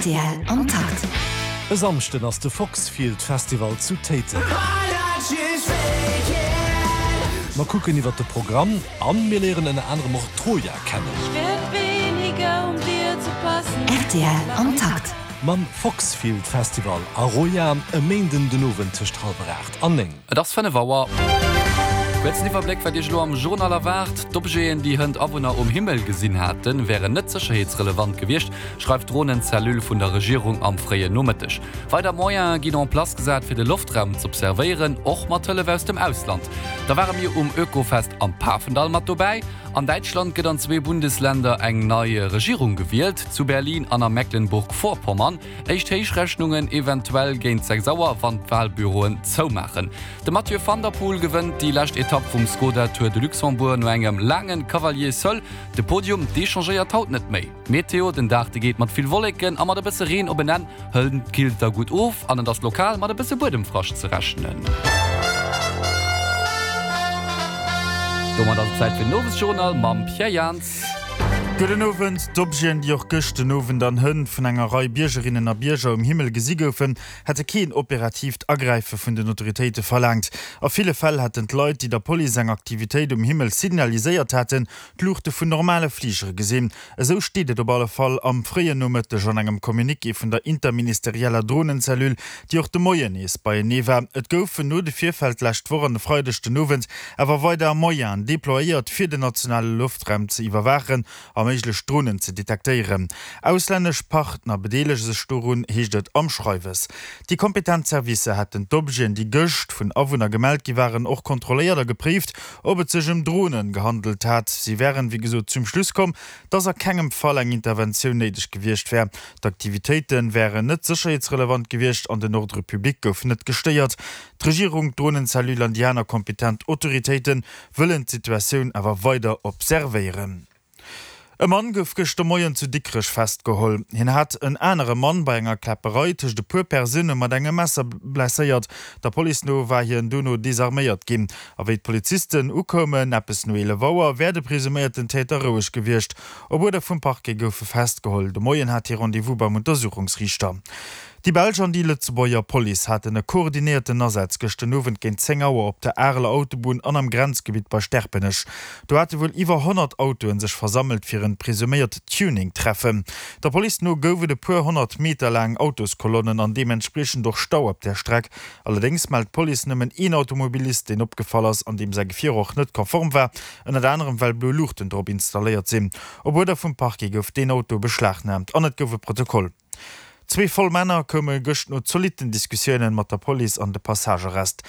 Rtl am Takt. E Samschden ass de Foxfield Festival zu Téiteng. Mer kucken iwwert de Programm an mir léieren ënner anerem och Troja kennen. Rtl am Takt. Mam Foxfield Festival a Roja e Méinden den Owend tëscht hallwer 8 an 9. Et ass 5 Auer. Kuerzen Iwwerbléck, wat Iech elo am Journal erwaart. D'Objeten, déi hënt Awunner um Himmel gesinn haten, wären net sécherheetsrelevant gewiescht, schreift d'Dronenzellule vun der Regierung am fréien Nomëtteg. Weider Moyene ginn en place gesat, fir de Loftraum z'observéieren, och mat Hëllef aus dem Ausland. Da ware mir um Oekofest am Pafendall mat dobäi. An Däitschland gëtt an zwee Bundesländer eng nei Regierung gewielt, zu Berlin an a Mecklenburg-Vorpommern. Éischt Héichrechnungen eventuell géint 6 Auer, wann d'Walbüroen zoumaachen. De Mathieu van der Poel gewënnt déi lescht Etapp vum Skoda Tour de Luxembourg no engem laange Cavalier seul. De Podium, dee changéiert haut net méi. Meteo, Den Dag, de geet mat vill Wolleken a mat e bësse Reen op en Enn. Hënt killt da gutt of an et ass lokal mat e bësse Buedemfrascht ze rechnen. Domat ass et Zäit fir den Owesjournal mam Pierre Jans. Gudden Owend. D'Objeten, déi och gëscht den Owend an hënt vun enger Rei Biergerinnen a Bierger um Himmel gesi goufen, hätte keen operatiivt Agräife vun den Autoritéite verlaangt. A ville Fäll hätten d'Leit, déi der Police eng Aktivitéit um Himmel signaliséiert haten, d'Luuchte vun normale Fligere gesinn. Esou steet et op alle Fall am fréien Nomëtteg an engem Communiqué vun der interministerieller Dronencellule, déi och de Moien nees beienee war. Et goufen no de Virfäll d'lescht Woch an e Freideg den Owend awer weider Moyenen deployéiert, fir den nationale Loftraum ze iwwerwaachen a méiglech Dronen ze detektéieren. Auslännesch Partner bedeelege sech dorun, heescht et am Schreiwes. Déi kompetent Servicer hätten d'Objeten, déi gëscht vun Awunner gemellt gi waren, och kontrolléiert a gepréift, ob et sech ëm Dronen gehandelt hat. Si wären, wéi gesot, zum Schluss komm, dass a kengem Fall eng Interventioun néideg gewiescht wär. D'Aktivitéite wären net sécherheetsrelevant gewiescht an den Ordre public gouf net gestéiert. D'Regierung, d'Dronenzellule an déi aner kompetent Autoritéite wëllen d'Situatioun awer weider observéieren. E Mann gouf gëschter Moien zu Dikrech festgeholl. Hien hat en anere Mann bei enger Kläpperei tëscht e puer Persoune mat engem Messer blesséiert. Der Police no war hien dono desarméiert ginn. A wéi d'Polizisten ukoumen, eppes no 11 Auer, wär de presuméierten Täter roueg gewiescht. Op Uerder vum Parquet gouf e festgeholl. De Moien hat hie Rendez-vous beim Untersuchungsriichter. Déi belsch an déi Lëtzebuerger Police haten e koordinéierten Asaz gëscht den Owend géint 10 Auer op der Areler Autobunn an am Grenzgebitt bei Sterpenech. Do hate wuel iwwer 100 Autoen sech versammelt fir en presuméiert Tuning-Treffen. Der Police no gouf et e puer 100 Meter laang Autoskolonnen an deementspriechend och Stau op där Streck. Allerdéngs mellt d'Police nëmmen een Automobilist, deen opgefall ass an deem säi Gefier och net konform war, ënnert anerem well blo Luuchten drop installéiert sinn. Op Uerder vum Parquet gouf deen Auto beschlagnaamt an et gouf e Protokoll. Zwee voll Männer koume gëscht no zolitten Diskussiounen mat der Police an de Passagearrest.